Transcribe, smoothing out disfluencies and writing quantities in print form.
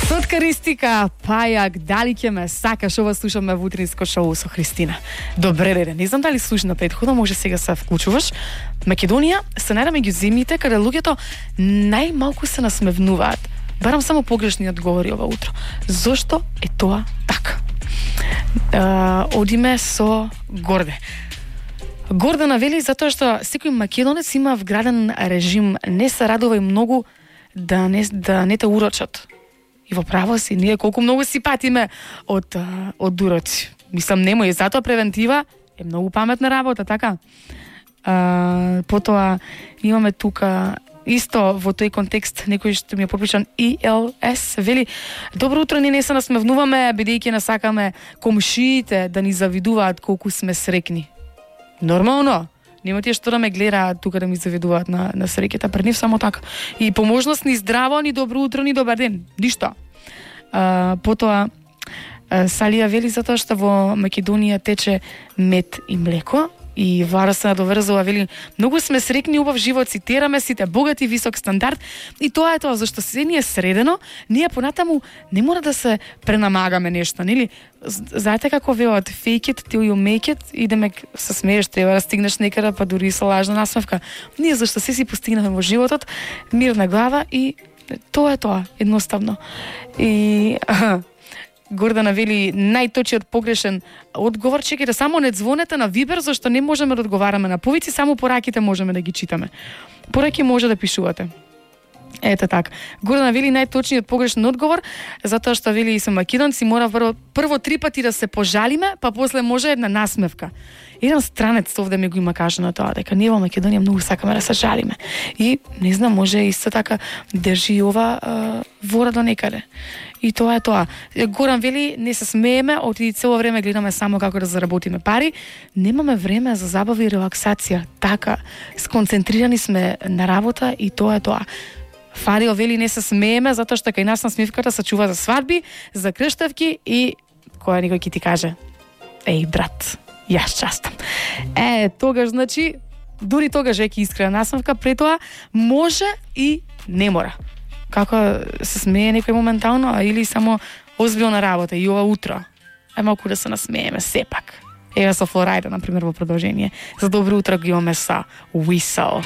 Сотка Ристика, Пајак, дали ќе ме сакаш, ова слушаме во утринско шоу со Христина. Добре, не знам дали слушна претходно, може сега се вклучуваш. Македонија се најде меѓу земјите каде луѓето најмалку се насмевнуваат. Барам само погрешни одговори ова утро. Зошто е тоа така? Одиме со Горде. Гордана вели затоа што секој македонец има вграден режим, не се радува и многу да не те урочат. И во право си, ние колку многу си патиме од уроци. Мислам, немој, затоа превентива е многу паметна работа, така? Потоа имаме тука исто во тој контекст некој што ми е подпишан ELS вели: добро утро, ние не се насмевнуваме бидејќи не сакаме комшиите да ни завидуваат колку сме срекни. Нормално. Нема тие што да ме гледаат тука да ми завидуваат на среќата, пред нив само така. И поможност ни здраво, ни добро утро, ни добар ден. Ништо. Потоа Салија вели затоа што во Македонија тече мед и млеко. И Вара се надоврзува, вели: многу сме срекни, убав живот, цитираме сите, богат и висок стандард. И тоа е тоа, зашто се ни е средено, ние понатаму не мора да се пренамагаме нешто, нели? Знаете како велат, fake it till you make it, идеме се смееш, треба да стигнеш некаде, па дури и со лажна насмевка. Ние зашто се си постигнавме во животот, мирна глава и тоа е тоа, едноставно. И Гордана вели најточниот погрешен одговор, чекајте, само не звонете на Вибер, зашто не можеме да одговараме на повици, само пораките можеме да ги читаме. Пораки може да пишувате. Ете така. Гордана вели најточниот погрешен одговор, затоа што вели и се македонци мора прво 3 пати да се пожалиме, па после може една насмевка. Еден странец овде ми го има кажано тоа, дека ние во Македонија многу сакаме да се жалиме. И не знам, може исто така држи ова вора до некаде. И тоа е тоа. Горан вели, не се смееме, оти цело време гледаме само како да заработиме пари, немаме време за забава и релаксација. Така, сконцентрирани сме на работа и тоа е тоа. Фарио вели, не се смееме, затоа што кај нас насмивката се чува за свадби, за крштевки и која никој ќе ти каже: еј, брат, јас частам. Тогаш, значи, дури тогаш е искрена насмевка, пред тоа може и не мора. Како се смее некој моментално, или само озбилна работа и ова утро. Малку да се насмееме сепак. Ева со Флорайда, например, во продолжение. За добро утро го имаме са Whistle.